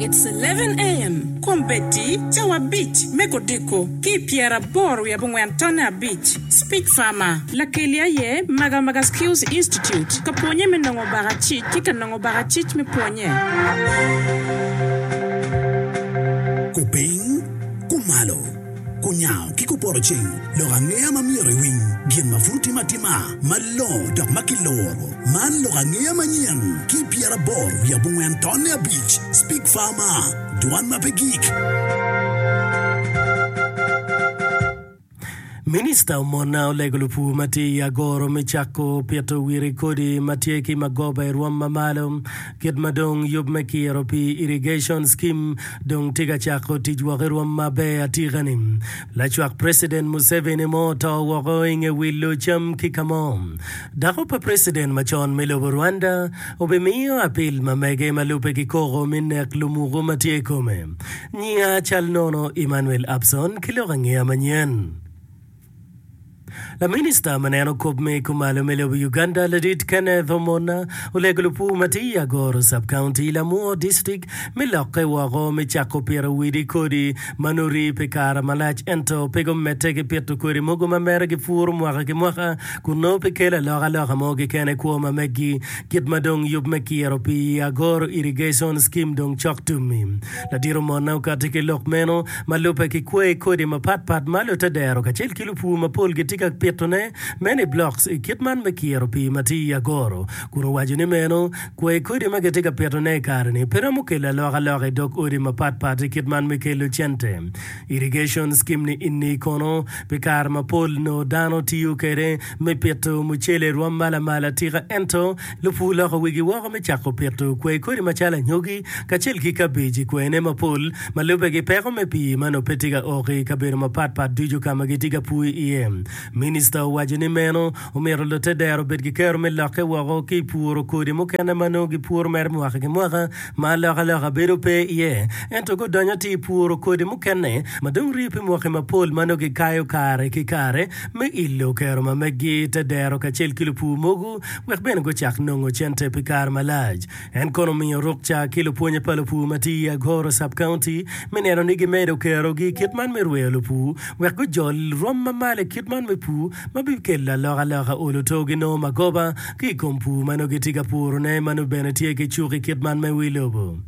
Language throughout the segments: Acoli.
It's 11 AM, Kombeddi cawa abic me kodiko ki i pyeraboro wiye abongwen tonne abic, Speech Farmer, Lakeli aye Magamaga Skills Institute ka pwonye me nongo bakacic ki ka nongo bakacic me pwonye. Kupiny, kumalo, kunyango ki kupoto ceng, lok angeya ma myero iwiny, gin ma pud otim atima, malongo dok ma kiluro. Man lok angeya manyen ki 84 tonne abic, Speak Farmer, dwan ma pe gik. Minista Omona olego lupur ma tye i agoro me cako pito wiri kodi ma tye ki magoba i rwom ma malo. Kit ma dong yub me kiro pii irrigation scheme dong tye ka cako tic woko i rwom maber atika-ni. Lacwak President Museveni mo oto woko i nge wilo cam ki ka mo. Dako pa President macon me lobo Rwanda obimiyo apil ma mege ma lubbe ki koko me nek lumuku ma tye i kome. Nyinga cal nono Emmanuel Abson ki lok angeya manyen. Laminista ma neno kop me kumalo me lobo Uganda Ladit Kenneth Omona olego lupur ma tye i Agoro Sub-County, Lamwo District me lokke woko me cako pito widi kodi ma nongo rii pi kare malac ento pe gumedde ki pito kodi mogo ma mere gipuro mwaka ki mwaka kun nongo pe kelo alokaloka mo keken i kwo ma meggi. Kit ma dong yub me kiro pii i Agoro Irrigation Scheme dong cok tum-mi, Ladit Omona okati ki lok meno ma lubbe ki kwai kodi mapatpat ma lutedero kacel ki lupur mapol gitye ka pitone meno i blocks i kit man me kiro pii ma tye i Agoro kun owaco ni meno kwai kodi ma gitye ka pitone i kare-ni pe romo kelo alokaloka i dog odi mapatpat i kit man me kelo cente. Irrigation scheme ni inni kono pi kare mapol nongo dano tiyo kwede me pito mucele i rwom ma lamal atika ento lupur loko wigi woko me cako pito kwai kodi macalo anyogi kacel ki kabej i kwene mapol ma lubbe ki peko me pii ma nongo pe tye ka ok i kabedo mapat pat ducu ka ma gitye ka pur iye. Minista owaco ni meno omito lutedero obed ki kero me lokke woko ki i puro kodi mukene ma nongo gipuro mere mwaka ki mwaka ma alokaloka bedo pe iye ento gudonyo atir i puro kodi mukene ma dong rii pi mwaki mapol ma nongo gikayo kare ki kare me ilo kero ma meggi te dero kacel ki lupur mogo wek bene gucak nongo cente pi kare malac. En kono omiyo rukca ki lupwonye pa lupur ma tye i Agoro Sub-County me neno ni gimedo kerogi i kit man me rweyo lupur wek gujol rwom ma malo i kit man me pur ma bikelo alokaloka olo to ginongo magoba ki i kom pur ma nongo gitye ka purone ma nongo bene tye ki cuk i kit man me wi lobo.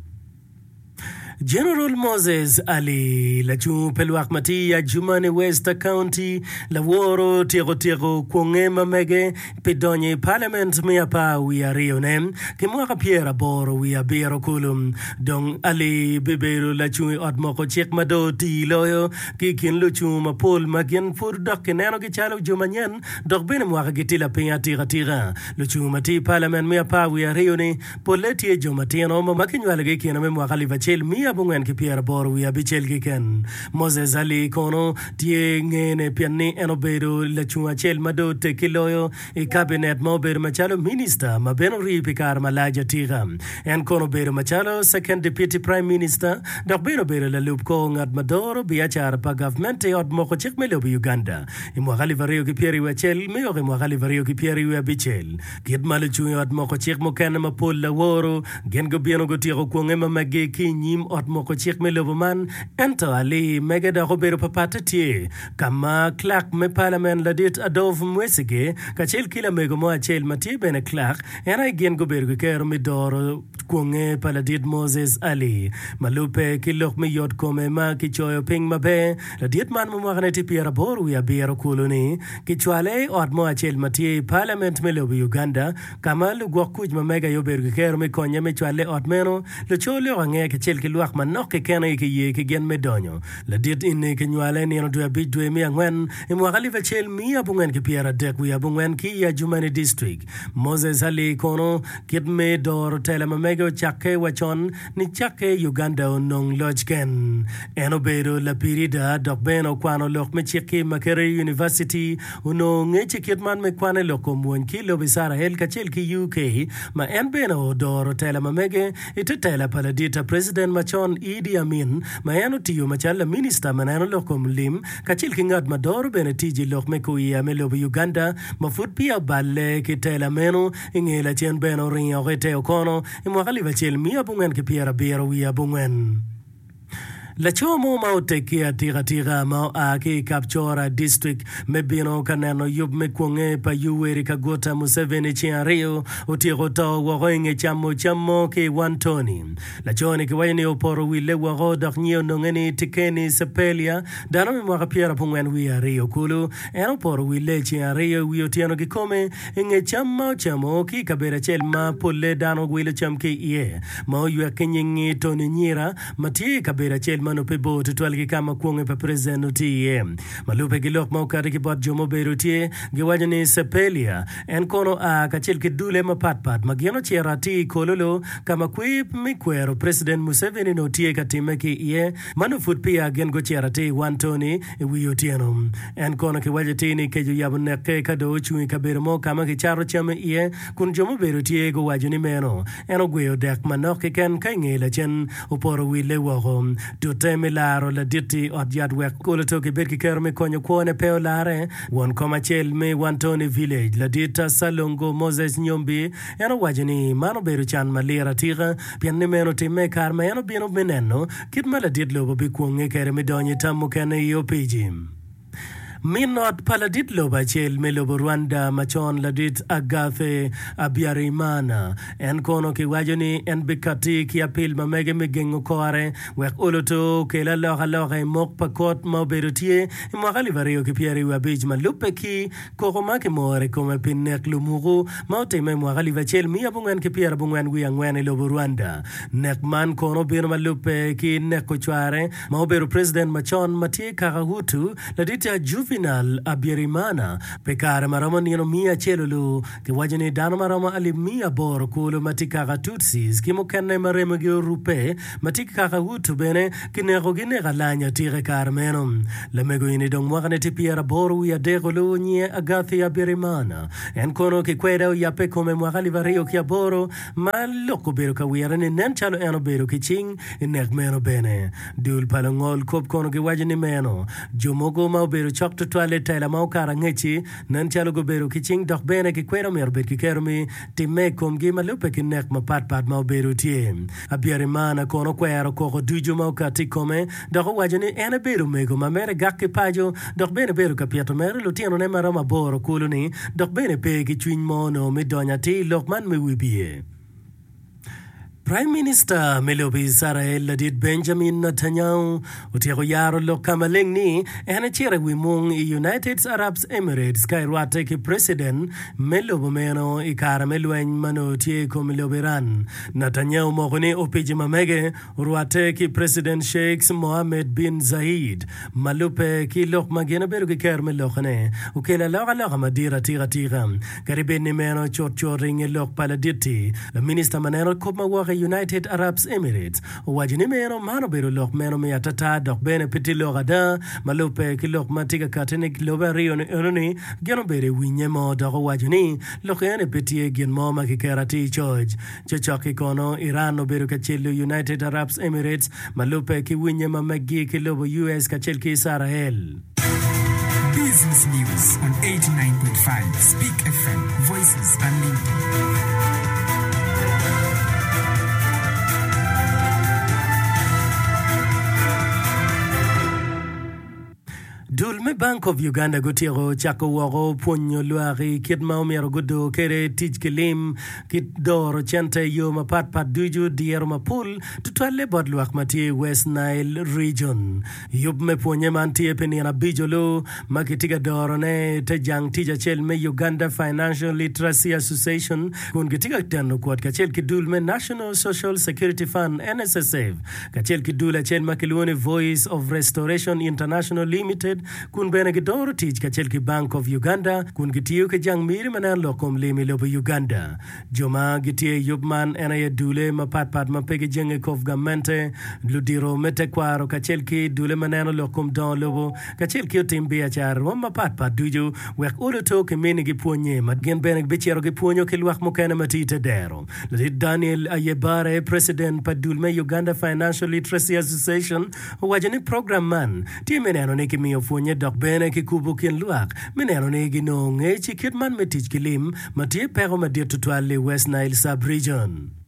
General Moses Ali, lacungo pe lwak ma tye i Adjumani West County, laworo tyeko tyeko kwonge ma mege pi donyo i Parliament me apar wiye aryone ki mwaka pyeraboro wiye abiro kulu. Dong Ali bibedo lacung i ot moko cik ma dong otii loyo ki i kin lucungo mapol ma gin pud dok kinenogi calo jo manyen dok bene mwakagi tye lapiny atika tika. Lucungo ma tye i Parliament me apar wiye aryo-ni Polle tye jo matino ma kinywalogi i kine me mwaka alip acel miya abongwen ki pyeraboro wiye abicel keken. Moses Ali kono tye ngene pien ni en obedo lacung acel ma dong oteggi loyo i kabinet ma obedo macalo minista ma bene orii pi kare malac atika. En kono obedo macalo Second Deputy Prime Minister dok bene obedo lalub kor ngat ma doro biacara pa gavment i ot moko cik me lobo Uganda i mwaka alip aryo ki pyeraryo acel me o ki mwaka alip aryo ki pyeraryo abicel. Kit ma lucung i ot moko cik mukene mapol laworo, gin gubino gutyeko kwonge ma meggi ki i nyim ot moko cik me lobo man. Ento alii mege dok obedo papatte tye ka ma Clerk me Palamen Ladit Adolf Mwesige kacel ki lamego mo acel ma tye bene Clerk en aye gin gubedo ki kero me doro kwonge pa Ladit Moses Ali. Ma lubbe ki lok me yot kome ma kicoyo piny maber, ladit man ma mwakane tye pyeraboro wiye abiro kulu-ni Kicwale i ot mo acel ma tye i Palament me lobo Uganda, ka ma lugwok kuc ma mege aye obedo ki kero me konye me cwale i ot meno. Luco lok ange kacel ki lwak manok keken aye kiye ki gin me donyo. Ladit eni kinywale nino dwe abic dwe me angwen i mwaka alip acel miya abongwen ki pyeradek wiye abongwen ki i Adjumani District. Moses Ali kono kit me doro tela ma mege ocakke wa con Nicakke Uganda onong loc ken. En obedo lapirida dok bene okwano lok me cik ki i Makerere University. Onongo ngec i kit man me kwan i lok kom mwony ki i lobo Icrael kacel ki UK ma en bene odoro tela ma mege i te tela pa ladit President macon. macon Idi Amin ma en otiyo macalo laminista ma neno lok kom lim kacel ki ngat ma doro bene tic i lok me kuiya me lobo Uganda ma pud peya oballe ki tela meno i nge lacen bene oringo oko i te okono i mwaka alip acel miya abongwen ki pyerabiro wiye abongwen. Laco mo ma oteggi atika tika ma oa ki i Kapchorwa District me bino ka neno yub me kwonge pa Yoweri Kaguta Museveni ceng aryo otyeko to woko i nge camo cam mo ki i Wantoni. Laco-ni kiwaco ni opoto wille woko dok nyinge ononge ni Tikeni Sepelia, dano me mwaka pyerabongwen wiye aryo kulu. En opoto wille i ceng aryo i wi otyeno kikome i nge cam ma ocamo ki i kabedo acel ma polle dano wilo cam ki iye ma oywek ki nying-ngi Tony Nyira ma tye i kabedo acel ma nongo pe bor tutwal ki ka ma kwonge pa president nongo tye iye. Ma lubbe ki lok ma okati ki bot jo ma obedo tye, giwaco ni Sepelia en kono oa kacel ki dule mapat pat ma gin ocito atir i Kololo ka ma kwer me kwero President Museveni nongo tye ka timme ki iye ma nongo pud peya gin gucito atir i Wantoni i wi otyeno. En kono kiwaco atir ni kec oyabo nekke ka dong ocung i kabedo mo ka ma kicato cam iye kun jo mubedo tye guwaco ni meno En ogweyo dek manok keken ka i nge lacen opoto wille woko. Tute me laro ladit-ti i ot yat wek oloto kibed ki kero me konyo kwone pe olare. Won kom acel me Wantoni Village, ladit Salongo Moses Nyombi, en owaco ni man obedo can malir atika pien ni meno otimme i kare ma en obino me neno kit ma ladit lobo bikwonge kwede me donyo i tam mukene i opici. Min ot pa ladit lobo acel me lobo Rwanda macon ladit Agathe Habyarimana en kono kiwaco ni en bikatti ki apil ma mege me gengo kore wek oloto okel alokaloka i mok pa kot ma obedo tye i mwaka alip aryo ki pyeraryo abic ma lubbe ki koko ma kimoro i kome pi nek lumuku ma otimme i mwaka alip acel miya abongwen ki pyerabongwen wiye angwen i lobo Rwanda. Nek man kono obino ma lubbe ki neko cware ma obedo president macon ma tye kaka Hutu, ladit Juvenal Habyarimana, pi kare ma romo nino miya acel olu. Kiwaco ni dano ma romo alip miya aboro kulu ma tye kaka Tutsis ki mukene ma remogi orubbe ma tye kaka Hutu bene kinekogi nek alany atika i kare meno. Lamego eni dong mwakane tye pyeraboro wiye adek olu nyinge Agathe Habyarimana. En kono kikwede oyabbe i kome mwaka alip aryo ki aboro ma lok obedo ka wire ni nen calo en obedo ki cing I nek meno bene, dul pa lungol kop kono giwaco ni meno jo mogo ma obedo cok tutwal i tela ma okato angec-ci nen calo gubedo ki cing dok bene gikweda omyero obed ki kero me timme i komgi ma lubbe ki nek mapat pat ma obedo tye. Habyarimana kono okwero koko ducu ma okatti i kome dok owaco ni en ebedo omego ma mere gak ki paco dok bene ebedo ka pito mere lutinone ma romo aboro kulu-ni dok bene pe ki cwiny mo onongo me donyo atir i lok man me wibye. Praim Minista me lobo Icrael ladit Benjamin Netanyahu otyeko yaro lok ka maleng ni en ecito i wi mung i United Arab Emirates ka erwatte ki Preciden me lobo meno i kare me lweny ma nongo tye i kom lobo Iran. Netanyahu omoko ni opici ma mege Orwatte ki President Sheiks Mohammed bin Zayed ma lubbe ki lok ma gin obedo ki kero me lokone okelo alokaloka madit atika tika. Kadi bed ni meno cut cut i nge lok pa ladit-ti, laminista ma neno kop ma wok i United Arabs Emirates owaco ni meno man obedo lok meno me atata dok bene pe tye lok ada ma lubbe ki lok ma tye ka kati ni lobe aryo-ni enoni gin obedo i winye mo dok owaco ni lok eni pe tye gin mo ma kiketo atir coc. Cocok-ki kono, Iran obedo ka celo United Arab Emirates ma lubbe ki winye ma meggi ki lobo US kacel ki Icrael. Business News on 89.5 Speak FM, Voices Unlimited. Dul me Bank of Uganda gutyeko cako woko pwonyo lwak i kit ma omyero gudor kwede tic ki lim ki doro cente i yo mapat pat ducu diro mapol tutwalle bot lwak ma tye i West Nile Region. Yub me pwonye man tye pi nino abic olu ma kitye ka dorone i te jang tic acel me Uganda Financial Literacy Association kun kitye ka teno kwot kacel ki dul me National Social Security Fund, NSSF. kacel ki dul acel ma kilwongo ni Voice of Restoration International Limited. kun bene gidoro tic kacel ki Bank of Uganda kun gitiyo ki jang miri ma neno lok kom lim i lobo Uganda. Jo ma gitye i yub man en aye dule mapat pat ma pe gijenge kop gamente, ludito me tekwaro kacel ki dule ma neno lok kom dongo lobo kacel ki otim biacara rwom mapat pat ducu wek olo to kiminigi pwonye ma gin bene gibicito gipwonyo ki lwak mukene ma tye i te dero. Ladit Daniel Ayebare, Preciden pa dul me Uganda Financial Literacy Association owaco ni program man tye me neno ni kimiyo pwonye dok bene kikubo kin lwak me neno ni ginongo ngec i kit man me tic ki lim ma tye peko madit tutwal i West Nile Sub-Region.